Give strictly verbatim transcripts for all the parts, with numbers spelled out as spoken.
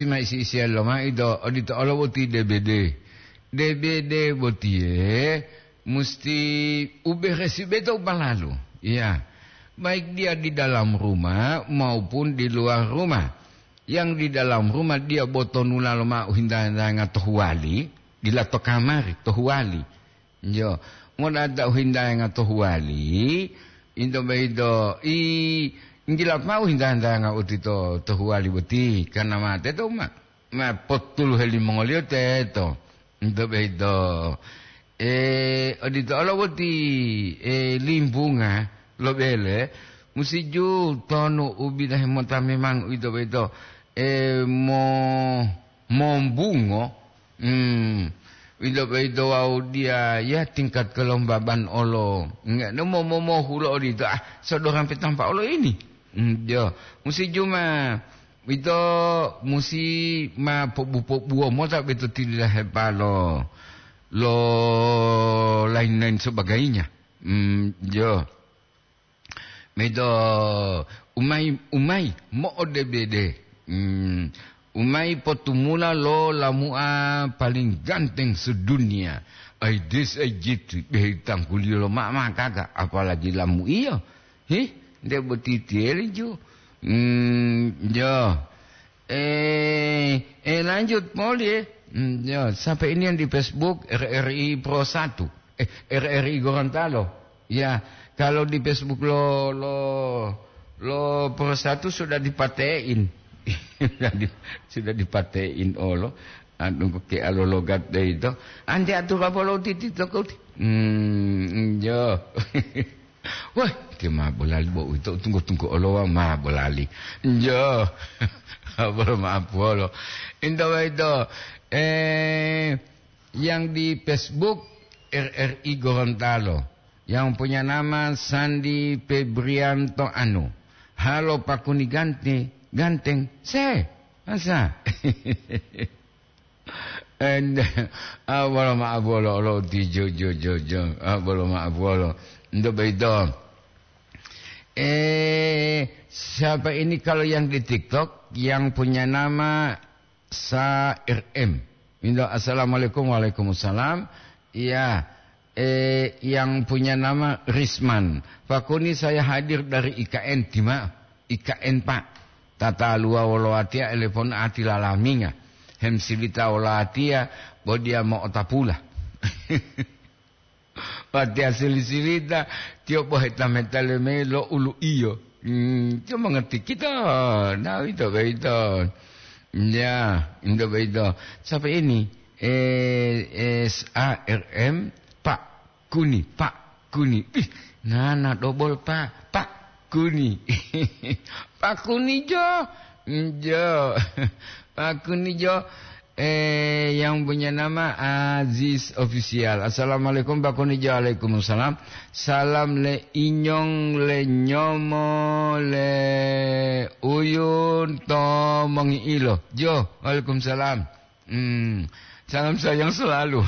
ma isi-isiya lomaido, odito olo boti D B D. D B D botiye musti uberesi beto u balalu. Iya. Baik dia di dalam rumah maupun di luar rumah. Yang di dalam rumah dia botonula loma'u hinda-hindanga to huwali, dila to kamari, to huwali. Yo, modata u hinda-hindanga to huwali, into boyito, i, nggila ma'u hinda-hindanga uti to, to huwali boti, karna ma teto ma, ma potuluhe limongoliyo teto. Into boyito, e, odito olo boti, e, limbunga lo bele, musi ju tonu u bidahe mota memang uwito boyito, e, mo-, mombungo, Hmm, wito boyito wawu diya ya tingkat kelembaban olo. Nge-, mo-, mo-, mohulo odito, ah, sodorang petampa olo ini. Hmm, jo, musi juma wito musi ma pobu-pobuwo mota beto tililahepalo lo lain-lain sebagainya. Hmm, jo. Medo umai, umai mo'odebede. Hmm, umai potumula lo lamu'a paling ganteng sedunia. Ai des ai jitu, behe tangguliyo lo mama gaga, apalagi lamu'iyo. Hih, nde boti tiyeli ju. Hmm, jo. Eh, eh, lanjut, Poli, eh. Hmm, ya, sampai ini yang di Facebook, R R I Pro satu. Eh, R R I Gorontalo. Ya, kalau di Facebook lo, lo, lo Pro satu sudah dipatein. Sudah di-, sudah dipatein, olo. Anu, ke alo logat deh itu. Ante atur apa lo titi toko ti? Hmm, ya. Wah, ti ma bolali bo uwito, tunggu-tunggu olo wa ma bolali. Njo. Bolo maaf wolo. Into boyito, eh, yang di Facebook R R I Gorontalo, yang punya nama Sandi Febrianto Anu. Halo Pakuni Ganti, ganteng. Se, masa? Ende, ah, bolo ma'o bolo lo ti jo, jo, jo, jo. Ah, bolo ma'o bolo. Nto boyito. Eh, siapa ini kalau yang di TikTok yang punya nama Sa R M? Indo, "Assalamualaikum." "Waalaikumsalam." Iya, eh, yang punya nama Risman. "Pakuni, saya hadir dari I K N, tima I K N, Pak. Tataluwa wolo watiya elepon ati lalaminga. Hemsilita wolo watiya, bo diya mo'otapula." Watiya sili-silita, tiyo bo heta-meta leme lo ulu iyo. Hmm, tiyo mongerti kito, nah, ito boyito. Ya, ito boyito. Siapa ini? Eh, S A R M, Pak Kuni, Pak Kuni. Ih, nana dobol, Pak. Pak Kuni. Pak Kuni jo. Jo. Pak Kuni jo. Eh, yang punya nama Aziz Official. "Assalamualaikum, Pak Kuni jo." "Waalaikumsalam. Salam le inyong, le nyomo, le uyun, to mongi'ilo." Jo, waalaikumsalam. Hmm, salam sayang selalu.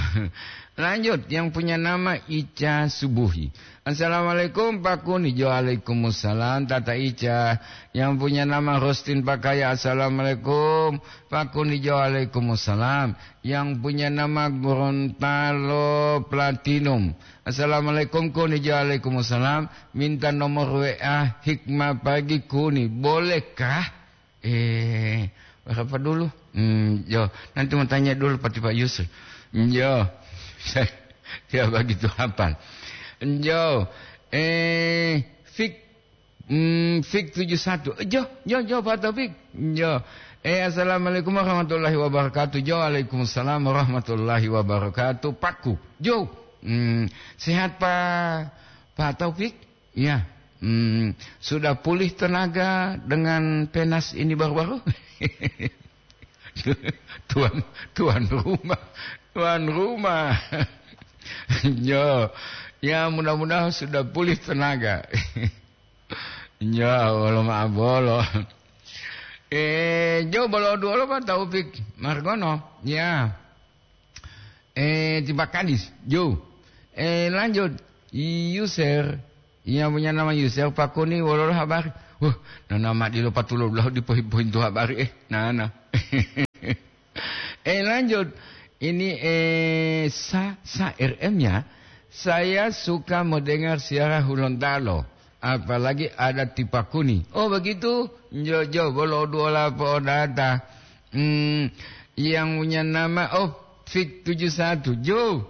Lanjut, yang punya nama Ica Subuhi. "Assalamualaikum, Pak Kuni." Jo, waalaikumsalam, Tata Ica. Yang punya nama Rostin Pakaya. "Assalamualaikum, Pak Kuni." Jo, waalaikumsalam. Yang punya nama Gorontalo Platinum. "Assalamualaikum, Kuni." Jo, waalaikumsalam. "Minta nomor W A Hikmah Pagi, Kuni. Bolehkah?" Eh, berapa dulu? Hmm, yo, nanti mau tanya dulu Pak, Pak Yusuf. Yo, dia begitu hafal. Yo, eh, Fik, hmm, Fik tujuh satu. Yo, yo, yo, Pak Taufik. Yo. Eh, "Assalamualaikum warahmatullahi wabarakatuh." Jo, "Waalaikumsalam warahmatullahi wabarakatuh." Paku. Jo. Hmm, sehat, Pak, Pak Taufik? Iya. Hmm, sudah pulih tenaga dengan penas ini baru-baru? Tuan, tuan rumah, tuan rumah. Yo, ya, mudah-mudahan sudah pulih tenaga. Ya, wolo ma'o bolo. Eh, jo bolo duolo Pak Taufik Margono. Ya. Eh, terima kasih, Jo. Eh, lanjut. User. Yang punya nama User, "Pak Kuni, wololo habari?" Wah, nana ma dilo patulo dulahu dipohi-pohintu habari, eh, nana. Eh, lanjut. Ini, eh, Sa, Sa R M ya. Saya suka mendengar siaran Hulontalo, apalagi ada Tipakuni. Oh, begitu? Jo, jo, bolo dua lapo data. Hmm, yang punya nama, oh, Fik tujuh satu. Jo.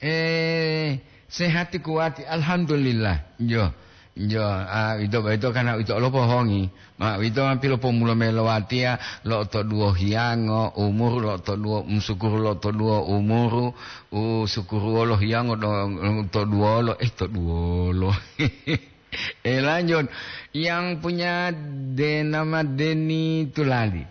Eh, sehati kuwati, alhamdulillah. Jo, jo, ah, ito, ito kana ito lo pohongi. Ma, ito ma pilopomulo mayi lo watiya, lo to duwo hiyango umuru, lo to duwo, musukuru lo to duwo umuru, u sukuru wolo hiyango do, to duwolo, eh, to duwolo. Eh, lanjut. Yang punya de nama Deni Tulali.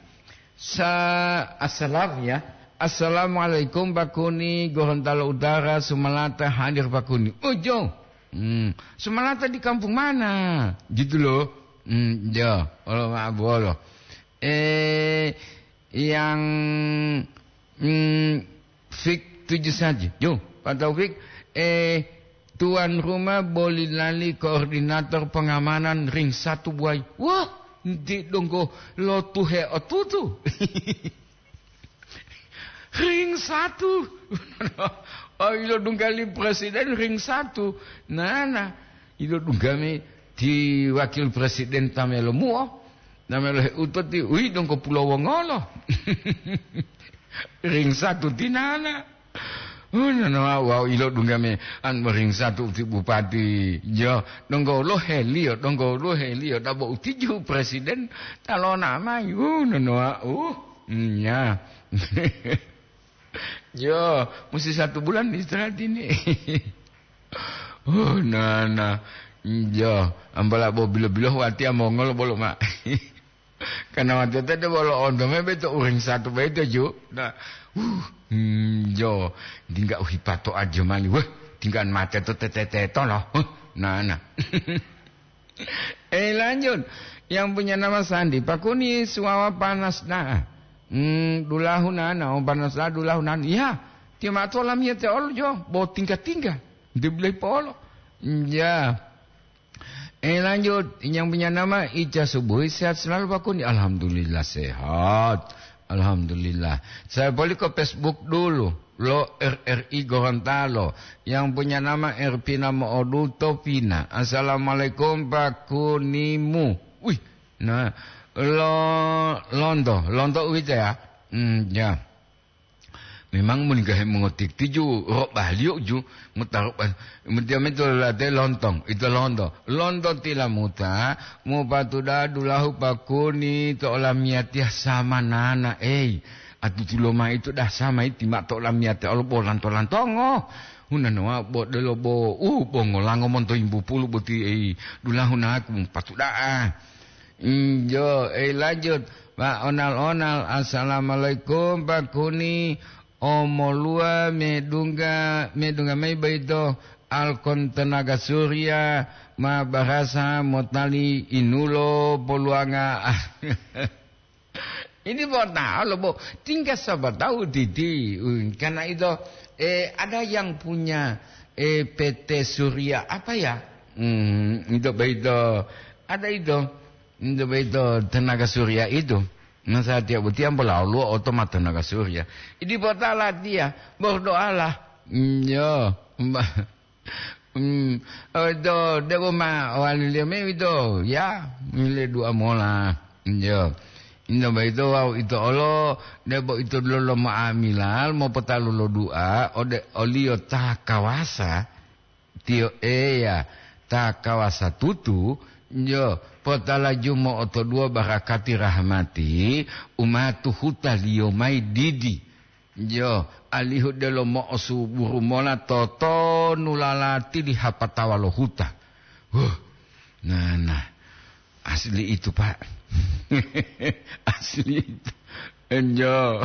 Sa-, assalam ya. Assalamualaikum, Pak Kuni, Gorontalo Utara, Sumalata, hadir, Pak Kuni. Oh, jo. Hmm, Sumalata di kampung mana? Gitu loh. Hmm, jo. Olo, maaf, bolo. Eh, yang, hmm, Fik tujuh saja. Jo, Pak Taufik, eh, tuan rumah boli lali koordinator pengamanan ring satu buai. Wah, nti donggo lotuhe otutu. Ring satu. Oh, ilo dunggali presiden ring satu. Nana, ilo dunggami ti wakil presiden tamelo muo. Namelo heuto ti, ui, donggo pulo wongolo. Ring satu tinana. Oh, nono, wau ilo dunggame an ring satu ti bupati. Jo, donggo lo helio, donggo lo helio, dabo utiju presiden talona mai. Uh, nono, uh, nya. Jo, musti satu bulan istirahat ini. Oh, nana. Jo, ambala bo bilo-bilo watiya mongol bolo ma. Karena watiya tadi bolo onto me beto uring satu beto ju. Nah, uh, hmm, jo, tingga uhipato aja mali. Wah, tinggal mate to tete to loh. Huh, nana. Eh, lanjut. Yang punya nama Sandi, Pak Kuni suwawa panas da'a. Hmm, dulahu nana, oh, panas da'a dulahu nana. Ya, tiyo mato lamiyate olo jo, bo tingga-tingga. Dia boleh polo. Ya. Eh, lanjut. Yang punya nama Ica Subuhi, sehat selalu, Pak Kuni. Alhamdulillah, sehat. Alhamdulillah. Saya balik ke Facebook dulu. Lo R R I Gorontalo. Yang punya nama Erpina Mooduto Pina. Assalamualaikum, Pak Kunimu. Wih, nah, lo, lonto, lonto uwito ya. Hmm, ya. Memang muni gahe mongotiktiju ro baliyo ju, mutaro ba-, mutiya meto late lontong, ito lonto. Lonto tilamuta, mupatuda dulahu Pak Kuni to olamiyatiya samanana, ei. Atutulo mayi to dah samayi tima to olamiyate olo bo lanto-lantongo. Hunanoa bo delo bo, uh, bo ngolango monto yimbu pulu boti, ei, dulahu naku mupatuda'a. Injo, eh, lanjut. Pak Onal-onal, assalamualaikum, Pak Kuni. Omoluwa medungga, medungga mayi boyito Alkon Tenaga Surya ma barasa motali inulo poluwanga. Ini bo tahu lo, bo. Tinggal siapa tahu, Didi. Hmm, karena itu, eh, ada yang punya, eh, P T Surya apa ya? Hmm, itu boyito. Ada itu. Itu boyito tenaga surya itu. Nah, saya tiap butiang pola Allah oto ma tenaga surya. Idi potala dia, berdoalah. Hmm, yo, Mbak. Hmm, itu, debo ma wali liya me itu. Ya, mile dua mola. Yo. Inda boyito wau ito olo, debo ito lolo ma'amilal, mopotalu lo dua, ode oliyo ta kawasa. Tiyo Eya ta kawasa tutu, jo, potalajumo otoduwo barakati rahmati u ma tuhuta-Liyo mayi didi, jo, alihu delo mo'osuburu mola totonu lalati li hapatawa lo huta. Huh, nana. Asli itu, Pak. Asli itu. Enjo.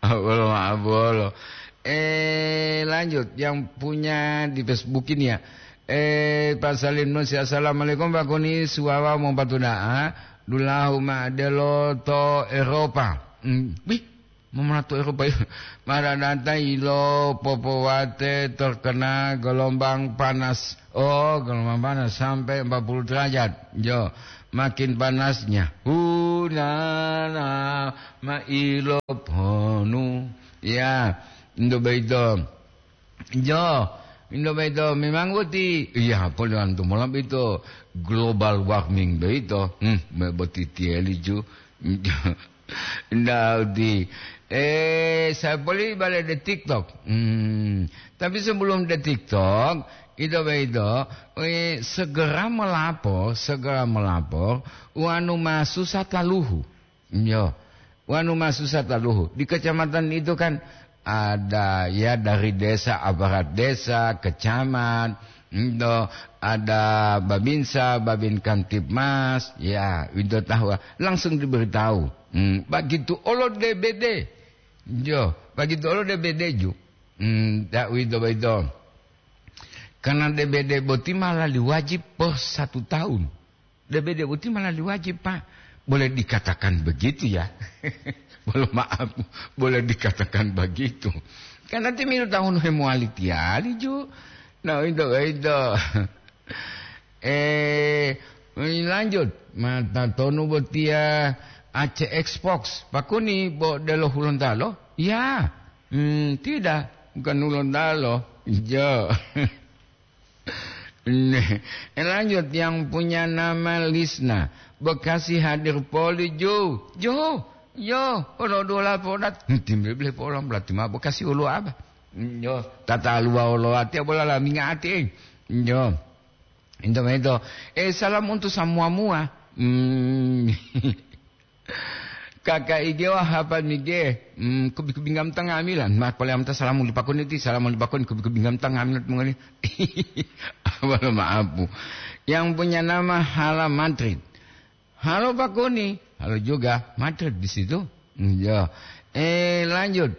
Abolo, abolo. Eh, lanjut. Yang punya di Facebook ini ya. Eh, Pak Salim Nusi, assalamualaikum, Pak Kuni, suwawa mompatu da'a. Dulahu ma'adelo to Eropa. Hmm, wih, Momonatu Eropa, maradata ilo popowate terkena gelombang panas. Oh, gelombang panas sampai empat puluh derajat. Jo, Makin panasnya. Hunana mailoponu. Ya, ndo beito. Jo, ndo beito memang boti. Iya, polantu mola beito global warming beito. Hmm, me-, boti tieli ju. Ndak di, eh, saya beli balik di TikTok. Hmm. Tapi sebelum di TikTok, itu begitu, eh, segera melapor, segera melapor, wanu masusah taluhu. Yo, wanu masusah taluhu. Di kecamatan itu kan ada, ya, dari desa, aparat desa, kecamat, ento ada babinsa, babin kamtibmas, ya, itu tahu, langsung diberitahu. Hmm, begitu olo D B D. Jo, begitu olo D B D ju. Hmm, dak wito boyito. Karena D B D boti ma lali wajib per satu tahun. D B D boti ma lali wajib, Pak. Boleh dikatakan begitu ya. Boleh maaf, boleh dikatakan begitu. Karena timilu tahun hemowali tiali ju. Nah, itu, itu. Eh, lanjut. Mata tonu botia A C Xbox. Pakuni bo delo Hulontalo? Ya. Hmm, tidak. Bukan Hulontalo. Jo. Nih, eh, lanjut, yang punya nama Lisna. Bekasi hadir poli, Jo. Jo. Yo, olo dola podat. Hmm, timbe bele polam berarti ma Bekasi olo apa? Hmm, yo, tata luwa olo ati bola la minga ati, eh. Yo. Ento mento. Eh, salam untuk semua mua. Hmm. Kakak ige wah apa nige? Hmm, kubi-kubi ngam tangamilan. Ma pole amta salamu lipakoni ti, salamu lipakoni kubi-kubi ngam tangamilan mongoli. Wala maapu. Yang punya nama Hala Madrid. Halo Pakoni. Halo juga. Madrid di situ. Hmm, ya. Eh, lanjut.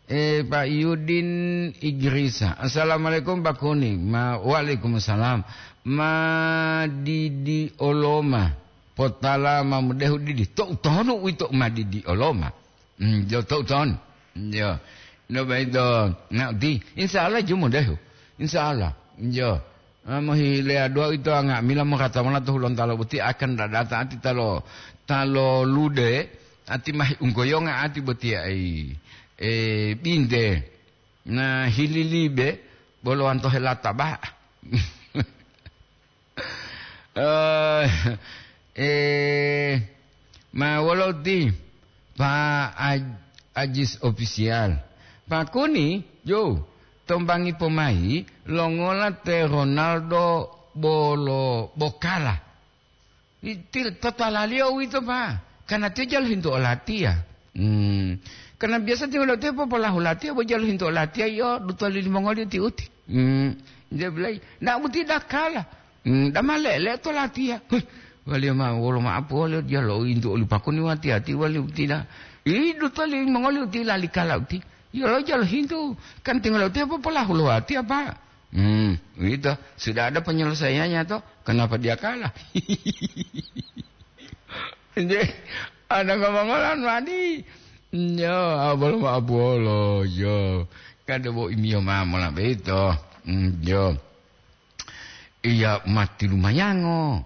Eh, Pak Yudin Igrisa. Assalamualaikum, Pak Kuni. Ma, waalaikumsalam. Ma didi oloma. Potala ma mudehu didi. Tou tonu wito ma didi oloma. Hmm, jo tou ton. Jo. No baito. Na di. Insya Allah ju mudehu. Insya Allah. Jo. Ah, mohile adua ito nga'amila mongatamola to Hulontalo boti akan dadata ati talo, talo lude, ati mahi unggoyonga ati boti ai, eh, binte, na hililibe, bolo wanto helata ba. Eh, eh, ma wolo ti? Pak Aj-, Ajis Official. Pak Kuni, yo, tombangi pomai, longola te Ronaldo bolo bokala. Ti-, totalaliyo uwito, Pak. Karena tiyo jalo hintu olatiya. Hmm. Karena biasa tiyo lotiya popolahu latiya, bo jalo hintu olatiya, yo, duto lili mongoliyo ti uti. Hmm. Dia bilang, ndak muti dakala. Hmm, dama lele to latiya. Huh, waliyo ma wolo ma'apu waliyo diya lo'oyintu oli pakuni wati-ati waliyo utila. Idu toli mongoli utila likala uti. Yolo jalo hintu. Kan tinggal uti apa polahu lo wati apa? Hmm, itu. Sudah ada penyelesaiannya to. Kenapa dia kalah? Nje, ada ngomong-ngomongan wadi. Yo, abolo ma'apu wolo, yo. Kada bo imiyo ma mola beto. Hmm, yo. Iya, mati lumayango.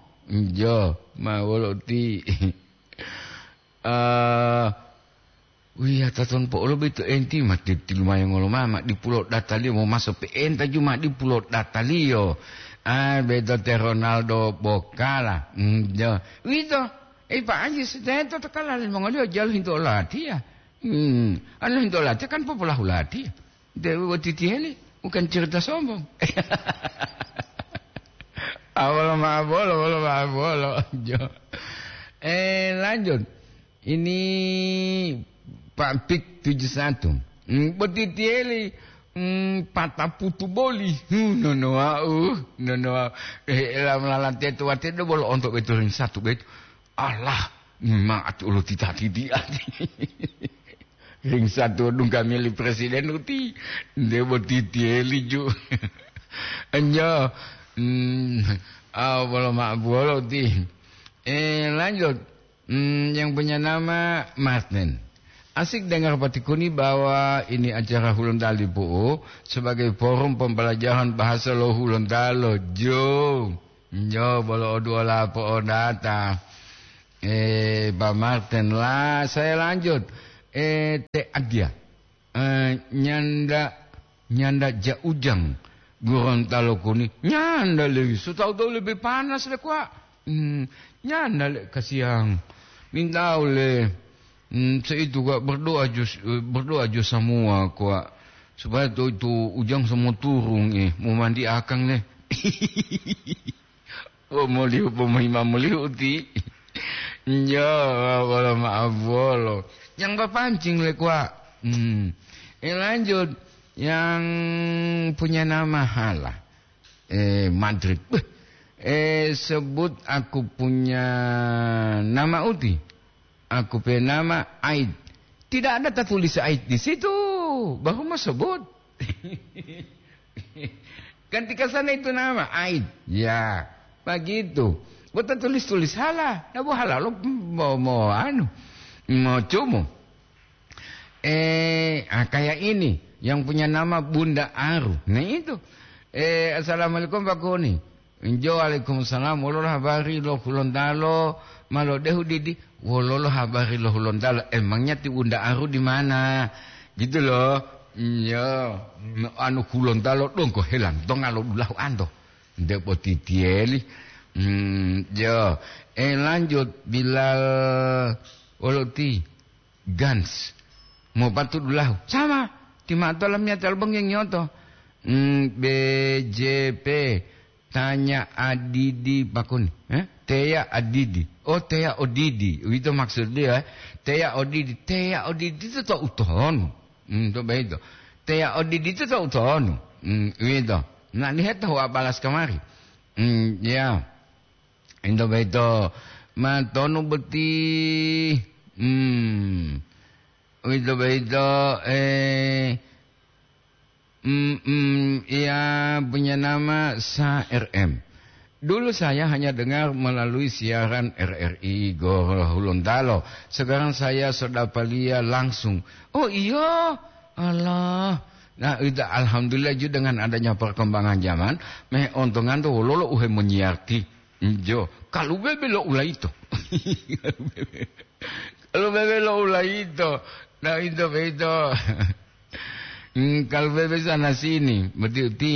Jo, ma wolo ti. Eh, wiya taton po'olo beto enti mati ti lumayango lo mama di pulo dataliyo mo maso pe'enta juma di pulo dataliyo. Ah, beto te Ronaldo bokala. Hmm, jo. Wito, eh, Pak Haji, seteto to kala limongoliyo jalo hinto olatiya. Hmm, anu hinto olatiya kan popolahu latiya. Dewe boti tiyeli, bukan cerita sombong. Ah, wolo ma'o bolo, wolo ma'o bolo. Jo. Eh, lanjut. Ini Pak Pik tujuh satu. Hmm, boti tiyeli, hmm, pataputu boli. Hmm, nono wau, nono wau. Eh, lam lalante tuwate do bolo onto beto ring satu beto. Allah, memang ati ulo tita-titi ati. Ring satu dungga mili presiden uti, nde boti tiyeli ju. Enjo, hmm, ah, bolo ma-, bolo uti. Eh, lanjut. Hmm, yang punya nama Martin. Asik dengar Pak Tikuni bahwa ini acara Hulontali Pu'u sebagai forum pembelajaran bahasa lo Hulontalo. Jo. Jo, bolo oduola po'odata. Eh, Pak Martin lah, saya lanjut. Eh, Te Adia. Eh, nyanda, nyanda ja ujang Gorontalo koni. Nyanda le, so tahu-tahu lebih panas le, Kak. Hmm, nyanda le, kasiang. Mintau le. Hmm, seitu, Kak, berdoa jo, berdoa jo semua, Kak. Supaya tu, tu ujang semua turun, eh. Mau mandi akang le. Pomolihu, pomohima molihu ti. Njo, wolo maaf wolo. Yang bapancing le, Kak. Hmm. Eh, lanjut. Yang punya nama Hala. Eh, Madrid. Beh. Eh, sebut aku punya nama uti. Aku punya nama Aid. Tidak ada tertulis Aid di situ. Baru mau sebut. Gantikan sana itu nama, Aid. Ya, begitu. Buat tulis-tulis salah. Nah, bu halal lo mau, mau anu, mau cumu. Eh, ah, kayak ini, yang punya nama Bunda Aru. Nah, itu. Eh, "Assalamualaikum, Pak Kuni." "Injo, waalaikumsalam. Wololo habari lo Hulontalo ma lodehu didi?" "Wololo habari lo Hulontalo? Emangnya ti Bunda Aru di mana?" Gitu loh. Iya, anu Hulontalo donggo helantonga lo dulahu anto. Nde potitieli. Hmm, ya. Eh, lanjut, Bilal Woloti. Gans. Mau patu dulahu. Sama. Ti ma'o to lamiyatiya lo banggi ngiyoto. Hmm, B J P. Tanya adidi pakuni. Eh? Teya adidi. Oh, teya odidi. Itu maksud dia, eh? Teya odidi. Teya odidi itu to utonu. Hmm, to begitu. Teya odidi itu to utonu. Hmm, itu. Nah, lihat tahu apalas kamari. Hmm, ya. Into boyito matonu boti, hmm, uwito boyito, eh, mm, mm, iya punya nama Sa R M. Dulu saya hanya dengar melalui siaran R R I Gorohulontalo. Sekarang saya sudah palia langsung. Oh iya, Allah. Nah, ita alhamdulillah ju dengan adanya perkembangan zaman, me ontongan to wololo uhe monyiyarti. Njo, kalu bebe lo ulaito. Kalu bebe lo ulaito. Nah, ito beito. Hmm, kalu bebe sana sini, beti uti.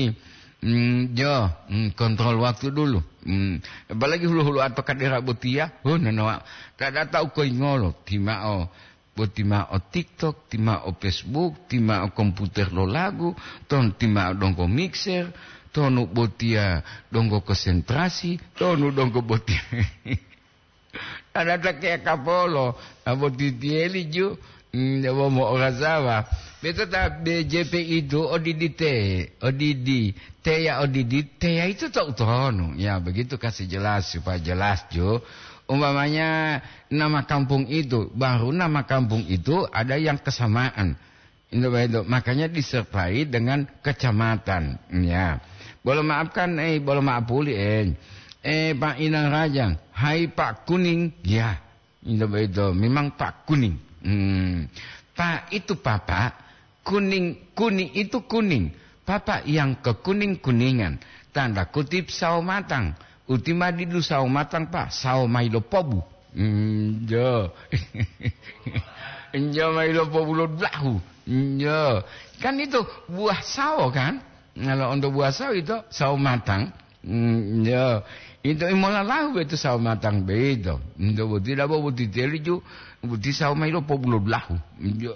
Hmm, jo, hmm, kontrol waktu dulu. Hmm, apalagi hulu-hulu atau kadera botia. Oh, nonoa. Kada tahu koi ngolo, timao. Bo ti ma'o TikTok, ti ma'o Facebook, ti ma'o komputer lo lagu, ton ti ma'o donggo mixer, tonu botiya donggo konsentrasi, tonu donggo botiya. Ada ta keya kapolo, abo titiyeli ju, mm, abo mo'orasawa. Beto ta B J P itu odidi te, odidi, teya odidi, teya itu to utonu. Ya, begitu kasih jelas, supaya jelas ju. Umpamanya, nama kampung itu, baru nama kampung itu ada yang kesamaan. Itu begitu. Makanya disertai dengan kecamatan. Ya. Bolo maafkan, eh, bolo maaf puli, eh. Eh, Pak Inang Rajang, hai Pak Kuning. Ya. Itu begitu. Memang Pak Kuning. Hmm. Pak itu Papa, kuning, kuning itu kuning. Papa yang kekuning-kuningan. Tanda kutip sawo matang. Uti ma didu sawo matang, Pak, sawo mayi lo pobu. Njo. Njo mayi lo pobu lo dulahu. Njo. Kan itu buah sawo, kan? Kalau untuk buah sawo itu sawo matang. Mm, njo. Itu imola lahu itu sawo matang beito. Njo boti dabo boti teli ju, boti sawo mayi lo pobu lo dulahu. Njo.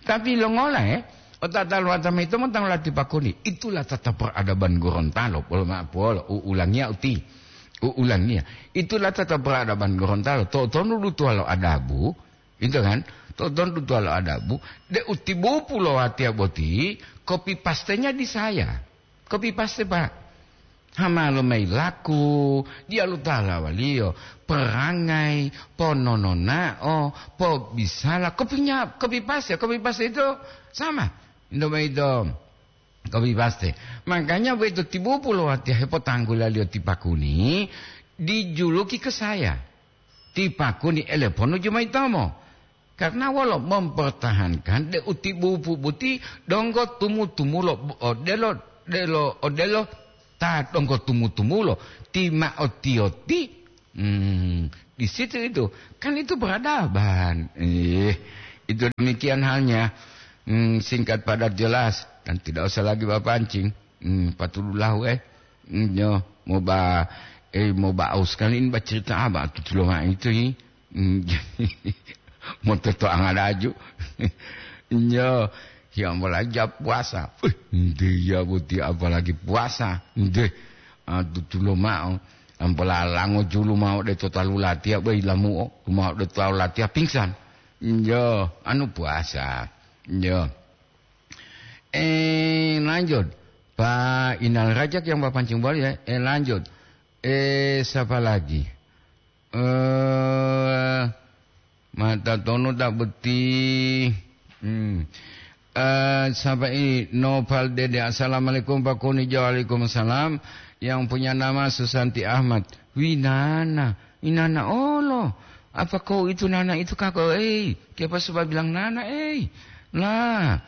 Tapi longola, eh? Otatalo atama ito motang lati pakoni. Itulah tata peradaban Gorontalo. Polo ma-, polo. U-, ulangia uti. U-, ulangia. Itulah tata peradaban Gorontalo. To'otonu dutuwalo adabu. Gitu kan? To'otonu dutuwalo adabu. De utibupu lo watiya boti, kopi pastenya di saya. Kopi paste, Pak. Hama lo mayi laku, diyalu talawaliyo, perangai, ponononao, pobisala, kopinya, kopi paste, kopi paste itu sama. Indomie itu, kopi paste. Makanya begitu tibupu lo watiya hepotanggulaliyo ti Pakuni, dijuluki ke saya. Ti Pakuni eleponu jumaitomo. Karena wolo mempertahankan de utibupu boti donggo tumu-tumulo odelo, delo, odelo ta donggo tumu-tumulo ti ma'o tiyoti, hmm, Di situ itu, kan itu peradaban. Eh, itu demikian halnya. Hmm, singkat padat jelas, dan tidak usah lagi bapancing. Hmm, patudulahu, eh. Hmm, yo, mau ba, eh, mau ba aus kali ini bacerita apa? Tutulo mah itu, eh. Hmm, mau toto angadaju. Yo, yang belajar puasa. Uh, dia boti apalagi puasa. Deh, ah, tutulo mah. Ampola lango julu ma'o de to talu latiya, boi lamu'o, luma'o de to talu latiya pingsan. Yo, anu puasa. Yo. Eh, lanjut. Pak Inal Rajak yang Bapak pancing boli ya. Eh, lanjut. Eh, siapa lagi? Eh, Mata tonu tak beti. Hmm. Eh, siapa ini? Noval Dede. Assalamualaikum, Pak Kuni. Waalaikumsalam. Yang punya nama Susanti Ahmad. Winana. Inana olo. Apa kau itu nana itu kako? Eh, siapa sebab bilang nana, eh? Lah.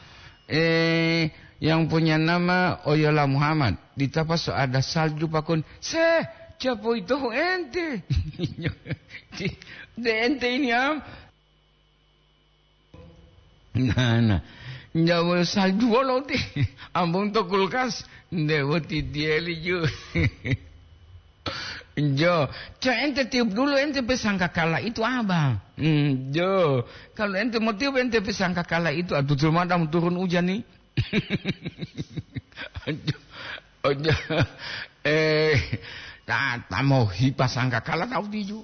Eh, yang punya nama Oyola Muhammad. Di Tapaso ada salju, Pak Kuni. Seh, siapa itu ente? De ente ini am. Nah, nah. Njawa salju wolo ti. Ambung to kulkas. Nde woti dieli ju. Jo, co ente tiup dulu ente pesangkakala itu, Abang. Hmm, jo. Kalau ente mau tiup ente pesangkakala itu, atuh, cuma ada mau turun hujan nih. Ojo, ojo. Eh, ta, ta mau hipa sangkakala tahu tiju.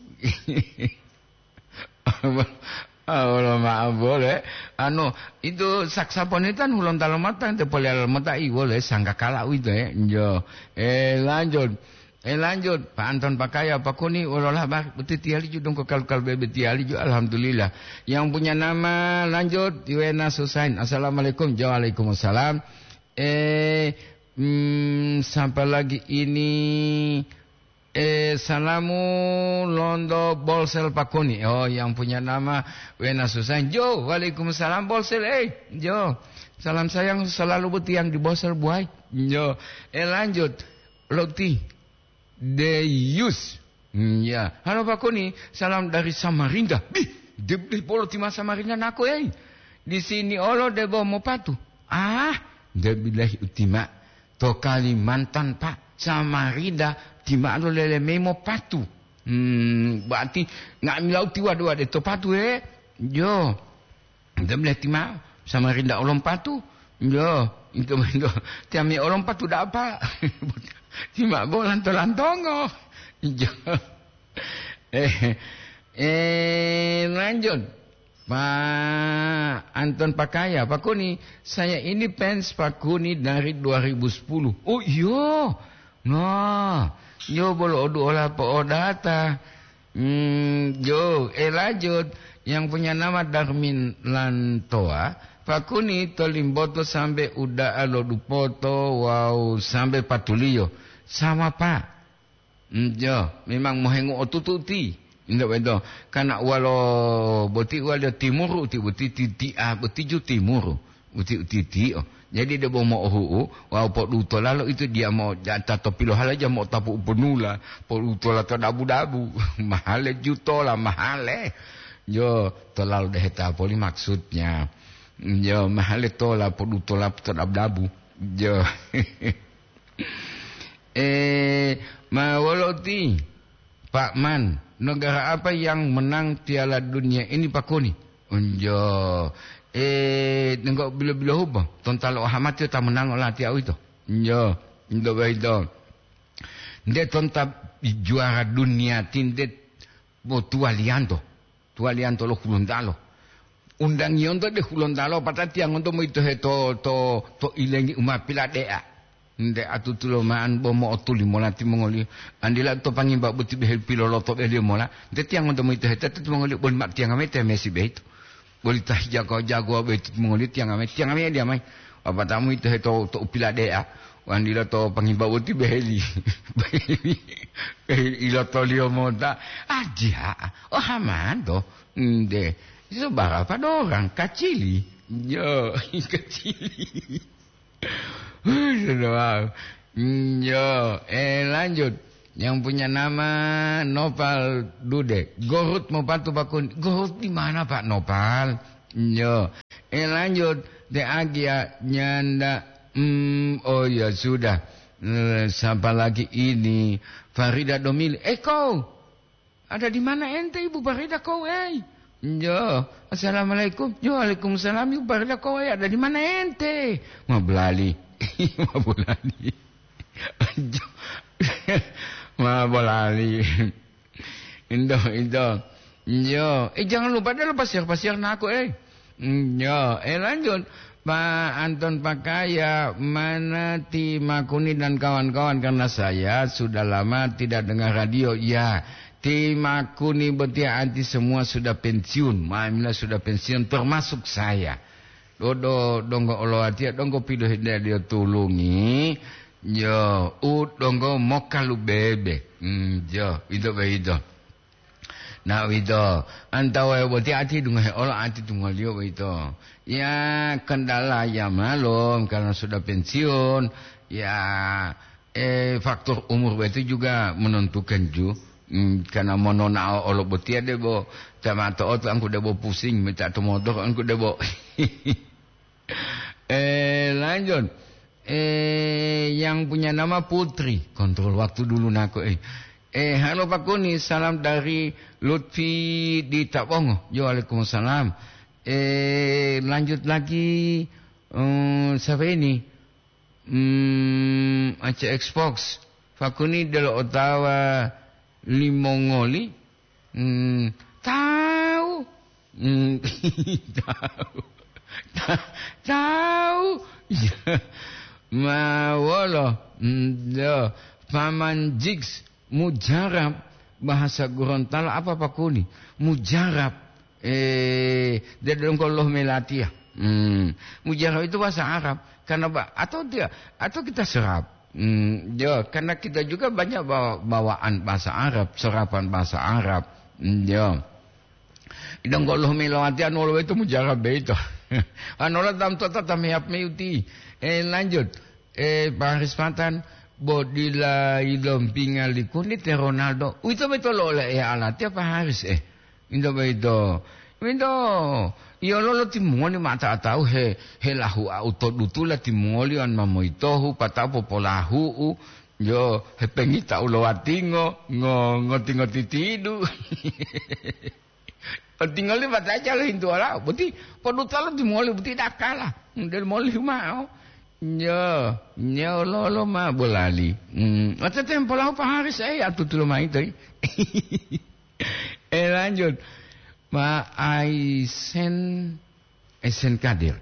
Ah, wolo ma'o bole. Anu, itu saksafon itu kan hulontalo mota, ente poliyalo mota, i wole sangkakala uwito, eh. Jo. Eh, lanjut. Eh, lanjut. Pak Anton Pakaya, Pak Kuni, wolola ba-, boti tiyali ju dongko kalu-kalu bebe tiyali ju, alhamdulillah. Yang punya nama, lanjut, Iwena Susain. Assalamualaikum. Waalaikumsalam. Eh, hmm, siapa lagi ini? Eh, salamu londo Bolsel Pakuni. Oh, yang punya nama Wena Susain. Jo, waalaikumsalam Bolsel. Eh, jo. Salam sayang selalu buat yang di Bolsel, buai. Jo. Eh, lanjut. Loti. Deyus. Hmm, ya. Halo, Pak Kuni, salam dari Samarinda. Bih, debleh bolo tima Samarinda nako, eh. Di sini olo debo mopatu. Ah, debleh utima. To Kalimantan, Pak. Samarinda, tima lo lele memo patu. Hmm, berarti nggak milau tiwa dua de to patu, eh. Jo. Ente meleti ma'o, Samarinda olompatu. Yo, ente, ente, tiamia olompatu da'a, Pak. Ti ma'o bo lanto-lantongo. Yo. Eh, eh, lanjut. Pak Anton Pakaya, Pak Kuni, saya ini fans Pak Kuni dari dua ribu sepuluh. Oh, iyo. Nah, yo bolo odu ola po'odata. Hmm, jo, eh, lanjut. Yang punya nama Darmin Lantoa, Pak Kuni to Limboto sambe uda'a lo Dupoto wawu sambe patuliyo. Sama, Pak. Hmm, jo, memang mohengu otutu ti. Indak beto. Karena walo boti walo timuru ti boti ti, ti, ah, boti ju timuru. Uti-utitiyo. Jadi debo mo'ohu'u wawu podutola lo itu diya mo'o jata to pilohalaja mo'otapu uponula, podutola to dabu-dabu. Mahale jutola, mahale. Yo, tolalo deheta poli maksudnya. Yo, mahale tola podutola to dabu-dabu. Yo. Eh, ma wolo ti? Pak Man, negara apa yang menang Piala Dunia ini, Pak Kuni? Unjo, eh, nenggo bilo-bilo hubo, tontalo ohamati ta menang olatiya uwito. Unjo, ndo baito. Nde tonta juara dunia tinte bo tuwaliyanto. Tuwaliyanto lo Hulontalo. Undangiyonto de Hulontalo, patatiyangonto moyitohe to, to, to ilengi u ma pilade'a. Nte atutulo ma'an bo mo'otuli mola timongoliyo. Andila to pangimba boti behe piloloto beliyo mola. Nte tiyangonto moyitohe tetu timongoliyo boli ma tiyanga mayi temesi beito. Boli ta hijago-jagowa boyito timongoliyo tiyanga mayi, tiyanga mayi diya mayi. Wapatamu ito heto to u pilade'a, wandila to pangimba boti beheli. Beheli, beheli ilotoliyo mota. Adiya, oh, hamanto. Nde, itu barapa dorang? Kacili. Yo, kacili. Sudah, wow. Yo, eh, lanjut. Yang punya nama Nopal Dude. Gorut mau patu bakun. Gorut di mana, Pak Nopal? Yo. Eh, lanjut. Te Agia nyanda. Hmm, oh ya sudah. Eh, siapa lagi ini? Farida Domili. Eh, kau. Ada di mana ente, Ibu Farida, kau, eh? Yo. Assalamualaikum. Yo, waalaikumsalam, Ibu Farida, kau, eh? Ada di mana ente? Mau belali. Mau belali. Jo-, ma bolali. Indo, indo. Yo, eh, jangan lupa deh lo pasiar-pasiar naku, eh. Yo, eh, lanjut. Pak Anton Pakaya, mana Ti Makuni dan kawan-kawan? Karena saya sudah lama tidak dengar radio. Ya, Ti Makuni botia anti semua sudah pensiun. Mamila sudah pensiun, termasuk saya. Dodo donggo oloatiya donggo pilohindeya tulungi, yo, u donggo mokalubebe. Hmm, yo, ito boyito. Nah, uwito, antawa boti ati dungohe olo ati tungoliyo boyito. Ya, kendala ya malum, karena sudah pensiun, ya, eh, faktor umur itu juga menentukan ju. Hmm, karena mononao olo botiya debo, tamato oto angku debo pusing, minta to motor angku debo. Eh, lanjut. Eh, yang punya nama Putri. Kontrol waktu dulu nako, eh. Eh, halo Pak Kuni, salam dari Lutfi di Tabongo. Yo, waalaikumsalam. Eh, lanjut lagi. Hmm, siapa ini? Hmm, Aceh Xbox. Pak Kuni delo otawa limongoli. Hmm, tahu. Hmm, tahu. Ta-, tahu. Ma wolo. Hmm, yo. Paman Jigs, mujarab, bahasa Gorontalo apa, Pak Kuni? Mujarab. Eh, dia dongkol loh melatiya. Hmm. Mujarab itu bahasa Arab. Karena ba-, atau dia, atau kita serap. Hmm, yo, karena kita juga banyak bawa-, bawaan bahasa Arab, serapan bahasa Arab. Hmm, yo. Idang goloh melowati anu wolo itu mujarab beito. Anola tam tota tam yap meyuti. Eh, lanjut. Eh, Pak Haris Patan, bo dila ilompinga likuni te Ronaldo. Uwito beto lo ole e alati apa Haris, eh? Into boyito. Minto, iyo lolo timongoli ma ta-, tawu he, he lahu au to dutula timongoli wan mamoyitohu, pata'o popolahu'u, yo, hepengita ulowatingo, ngo-, ngoti-ngoti tidu. Otingoli bataca lohintu olau, boti podutalo timongoli boti dakala, model moli mao. Yo, nyo lolo ma bolali. Hmm, ote tempo lahu pa Haris, eh, atutulo maito, eh. Eh, lanjut. Ma Aisen, Aisen Kadir.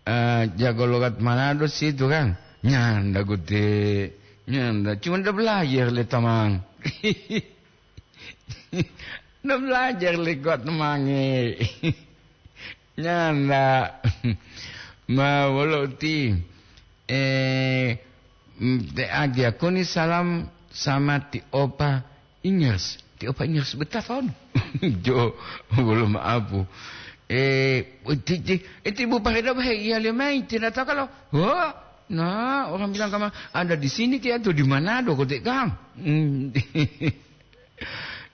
Eh, jago logat Manado situ kan? Nyanda gute, nyanda. Cuma udah belajar le tamang. Udah belajar le kuat temange. Nyanda. Ma wolo uti. Eh, mm, te agia kuni salam sama ti opa Ingers. Ti opa Ingers betafon. Jo, belum apu. Eh, ti, ti, eh, ti Bu Parida, he, iya le mai, tidak tahu kalau. Wah, nah, orang bilang kamu ada di sini, kayak tuh di Manado, kote kang. Hmm.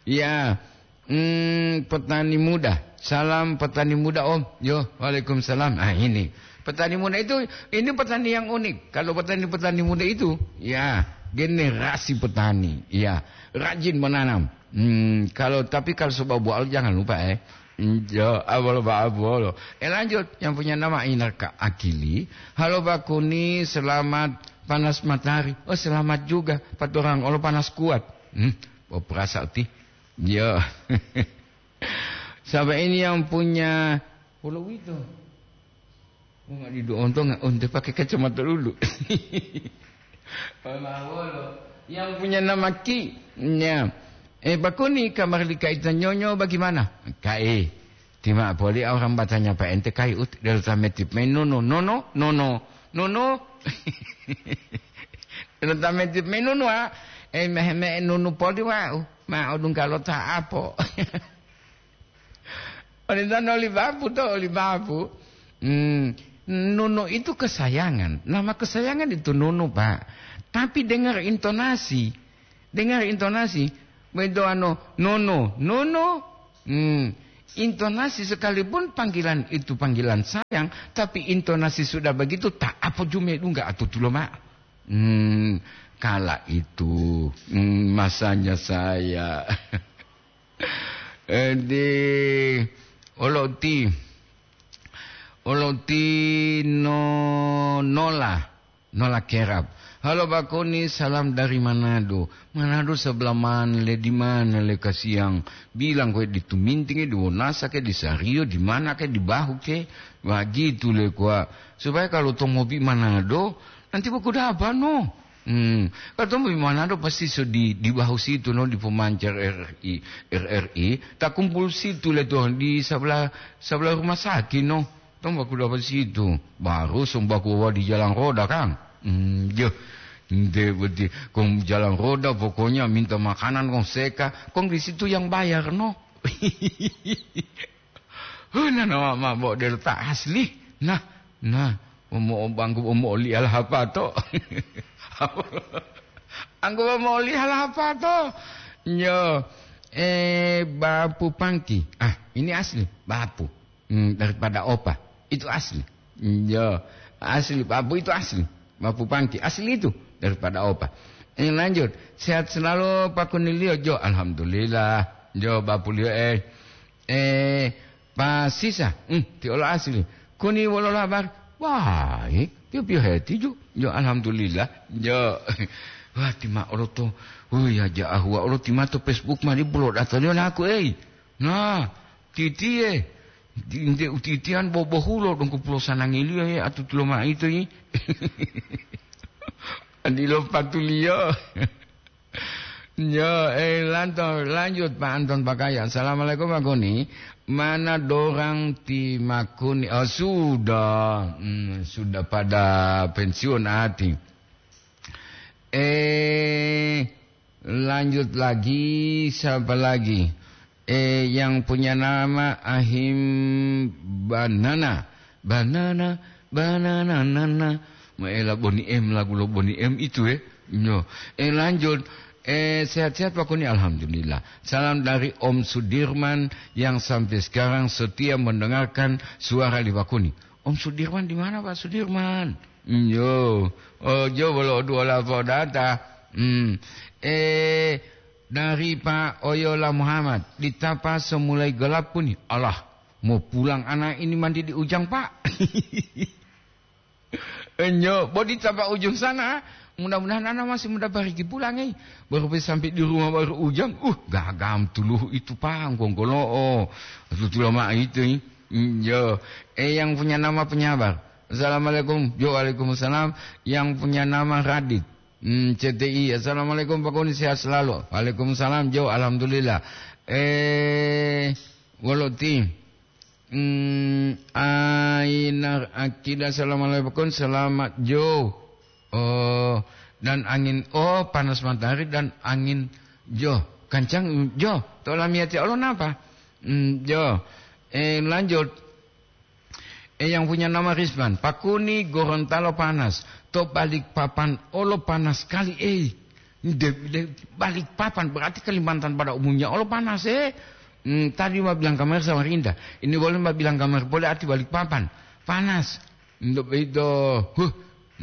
Ya, hmm, petani muda. Salam petani muda, Om. Yo, waalaikumsalam. Ah, ini. Petani muda itu, ini petani yang unik. Kalau petani-petani muda itu, ya, generasi petani. Ya, rajin menanam. Hmm, kalau, tapi kalau sebab buah jangan lupa, eh. Hmm, yo, abolo ba abolo. Eh, lanjut, yang punya nama Inaka Akili. Halo Bakuni, selamat panas matahari. Oh, selamat juga. Paturang, olo panas kuat. Hmm, oh, perasa uti. Iya. Sampai ini yang punya pulau itu. Oh, nggak didu ontong, nggak onte pakai kacamata dulu. Mawolo. Yang punya nama Ki. Ya. Eh, Bakuni, kamar lika ita nyonyo bagaimana? Kae. Tima poli orang batanya pa ente kai ut, del tametip main nono, nono, nono, nono. Del tametip main nono, ah. Eh, meh, meh, nono poli, wau. Ma odung kalau ta apo. Oli tano oli babu to, oli babu. Hmm, nono itu kesayangan. Nama kesayangan itu nono, Pak. Tapi dengar intonasi. Dengar intonasi, begitu ano, "Nono, nono." Hmm, intonasi sekalipun panggilan itu panggilan sayang, tapi intonasi sudah begitu tak apa jume dungga atau tulo ma. Hmm, kala itu, hmm, masanya saya. Edi, oloti, oloti no nola, nola kerap. "Halo Bakoni, salam dari Manado." "Manado sebelah mana le, di mana le, kasiang?" "Bilang kowe di Tuminting, di Wonasa ke, di Sario, di mana ke, di Bahu ke." Begitu le kuwa. Supaya kalau to mobi Manado, nanti boku dapa no. Hmm. Kalau to mobi Manado pasti so di, di Bahu situ no, di pemancar R R I, R R I, tak kumpul situ le to, di sebelah, sebelah rumah sakit no. Tong baku dapat situ, baru sumbaku wawa di jalan roda, kan? Hmm, yo. Nde beti, kong jalan roda pokoknya minta makanan kong seka, kong di situ yang bayar, no. Huna nama mabo delta asli. Nah, nah, omo bangku omo oli alhapato. Anggo omo oli alhapato. Yo, eh, bapu pangki. Ah, ini asli, bapu. Hmm, daripada opa. Itu asli. Yo, asli, bapu itu asli. Bapu pangki, asli itu daripada opa. Eh, lanjut, sehat selalu Pak Kunilio. Jo, alhamdulillah. Jo, bapuliyo, eh, eh, Pak Sisa, hmm, ti olo asli. Kuni wolo labar. Wah, eh, piyo-piyo heti ju. Jo, alhamdulillah. Jo. Wah, tima olo to. Oh ya, ja ahua olo tima to Facebook mari bulo dataliyo naku, eh. Nah, titiye, di-, nte utitiyan bobohulo donggo pulo sanangiliyo ye atutulo maitu yi. Adilo patuliyo. Yo, eh, lanto-, lanjut, Pak Anton Pakaya. Assalamualaikum, Pak Goni. Mana dorang ti Makuni? Oh, sudah. Hmm, sudah pada pensiun ati. Eh, lanjut lagi, siapa lagi? Eh, yang punya nama Ahim Banana. Banana, banana, nana. Maela Boni M, lagu lo Boni M itu, eh. Nyo. Eh, lanjut. Eh, sehat-sehat Pak Kuni, alhamdulillah. Salam dari Om Sudirman yang sampai sekarang setia mendengarkan suara di Pak Kuni. Om Sudirman di mana, Pak Sudirman? Nyo. Oh, jo bolo dua lapor data. Hmm. Eh, dari Pak Oyola Muhammad, di Tapa semulai gelap pun. Allah, mau pulang anak ini mandi di Ujang, Pak. Enyo, bodi tapa ujung sana. Mudah-mudahan anak masih muda bariki pulang, eh. Baru sampai di rumah baru Ujang. Uh, gagam tuluh itu, Pak, gongkolo'o. Tutula ma itu, eh. Enyo. Eh, yang punya nama penyabar. Assalamualaikum. Jo, waalaikumsalam. Yang punya nama Radit. Hmm, C T I. Assalamualaikum, Pak Kuni, sehat selalu. Waalaikumsalam, Jo, alhamdulillah. Eh, wolo ti. Hmm, Ainar Akida, assalamualaikum, selamat, Jo. Oh, dan angin, oh, panas matahari dan angin, Jo. Kancang, Jo. To lamiyati olo napa? Hmm, Jo. Eh, lanjut. Eh, yang punya nama Risman, Pak Kuni, Gorontalo panas, to Balikpapan olo panas kali, eh. De, de, Balikpapan berarti Kalimantan pada umumnya olo panas, eh. Hmm, tadi ma bilang kamar Samarinda, ini boleh ma bilang kamar boleh arti Balikpapan, panas. Untuk itu, huh,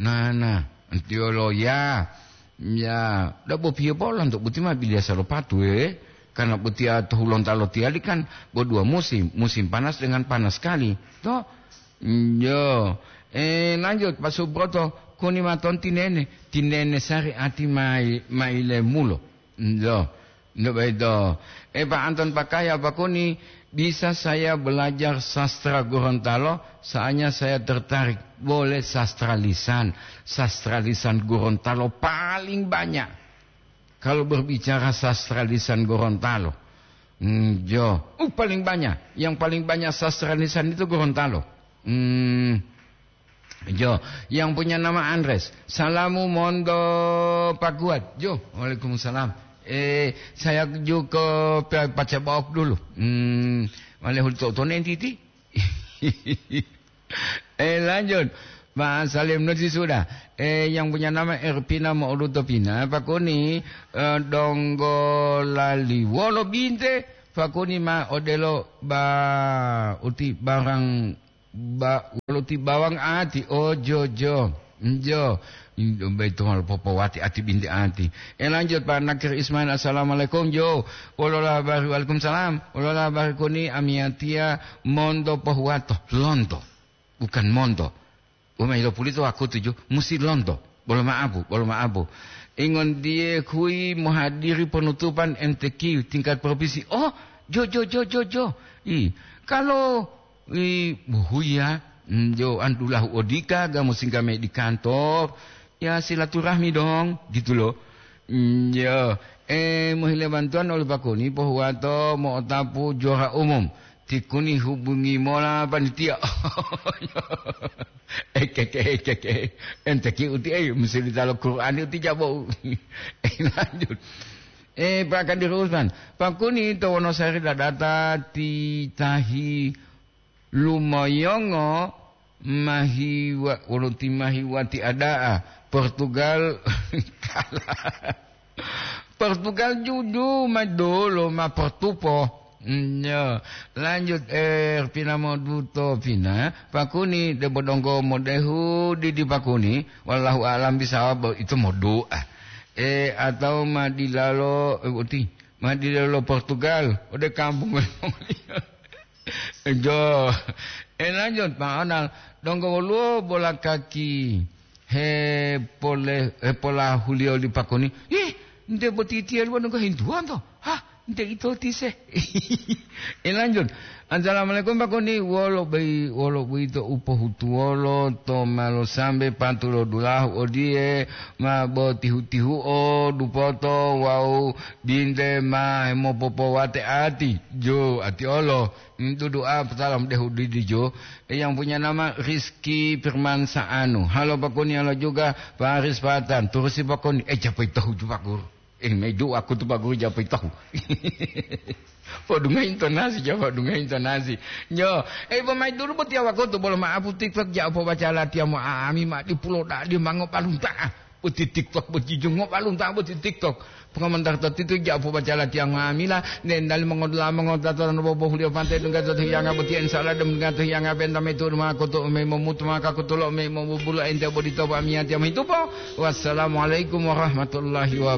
nah, nah, antiolo ya. Ya, da bopiyo polo untuk buti ma bilia salopatu, eh. Karena buti to Hulontalo tiyali kan bo dua musim, musim panas dengan panas sekali. To? Yo. Eh, lanjut, Pak Subroto, Kuni maton tinene, tinene sari ati mai, maile mulo. Yo. Ndak begitu. Eh, Pak Anton Pakaya, Pak Kuni, bisa saya belajar sastra Gorontalo? Soalnya saya tertarik. Boleh sastra lisan. Sastra lisan Gorontalo paling banyak. Kalau berbicara sastra lisan Gorontalo. Hmm, jo. Uh, paling banyak. Yang paling banyak sastra lisan itu Gorontalo. Hmm, jo. Yang punya nama Andres. Salamu mondo Pak Kuat. Jo, waalaikumsalam. Eh, saya ju ke Pe-, Pacabaok dulu. Hmm, wale hul to-, tonen titi. Eh, lanjut. Ma salim nuti sudah. Eh, yang punya nama Erpina Mo'oduto Pina, pakuni, eh, donggo lali wolo binte, pakuni ma odelo ba uti barang ba wolo ti bawang ati, oh, jo, jo. Jo. Indo bai to mal popowati ati binte ati. Eh, lanjut, Pak Nakir Ismail, assalamualaikum, jo. Wolola bari, waalaikumsalam. Wolola bari kuni amiatia mondo pohuwato, lonto. Bukan mondo. Umai lo pulito wakutu jo, musi lonto. Bolo ma'apu, bolo ma'apu. Ingon die kui mohadiri penutupan M T Q tingkat provinsi. Oh, jo, jo, jo, jo, jo. I, kalau, i, buhuya, mm, jo, andulahu odika, ga musi ga me di kantor. Ya, silaturahmi dong, gitu loh. Mm, ya, eh, mohile bantuan oleh Pak Kuni, pohuwato mo'otapu juara umum. Ti Kuni hubungi mola panitia. Ekeke, ekeke. Ente ki uti, eh, mesti ditalo Quran uti jabo. Eh, lanjut. Eh, Pak Kadir Usman. Pak Kuni to Wonosari dadata ti tahi lumoyongo mahiwa, wolo ti mahiwati ada'a. Portugal kalah. Portugal juju ma dolo ma portupo. Mm, ya. Lanjut, eh, pina moduto pina. Pakuni debo donggo modehu didi pakuni. Wallahu a'lam bisawab, itu modoa. Eh, atau ma dilalo, eh, uti. Ma dilalo Portugal. Ode kampung. Jo. Eh, lanjut, Pak Onal. Donggo woluwo bola kaki. Hepole-, hepolahuliyo li Pakoni, "Ih, nte boti tiyali wonu ngohintuwanto? Hah, nte ito tise?" Eh, lanjut. "Assalamualaikum, Pakoni. Wolo bei-, wolo boyito u pohutuwolo to malo sambe patulo dulahu odiye, ma botihu-tihuo dupoto wawu binte ma hemopopowate ati, jo ati olo." Dudu'a salam dehu didijo, yang punya nama Rizky Firman Saanu. Halo Pakoni, halo juga Faris Fatan. Turusi Pakoni, eh, japai tahu ju Pak Guru. Eh, mai doa ku tu Pak Guru japai tahu. Podunga intonasi, japa dunga intonasi. Nyo, eh, bo mai dulu botiya wakutu bolo ma'apu TikTok ja pobaca latiya mo ami ma di pulo dadi mango palunta. Boti TikTok, boti jungo balunta boti TikTok. Pengamantar tatitu ja pobaca latiya nga'amila, nendali mongodula mongotata no bobohuliyo pantai dungga to hiyanga boti, insya Allah dem dungga to hiyanga benta metu duma koto me momutu maka kotulo me mobubula ente bodito pamiyatiya mohitupo. Wassalamualaikum warahmatullahi wabarakatuh.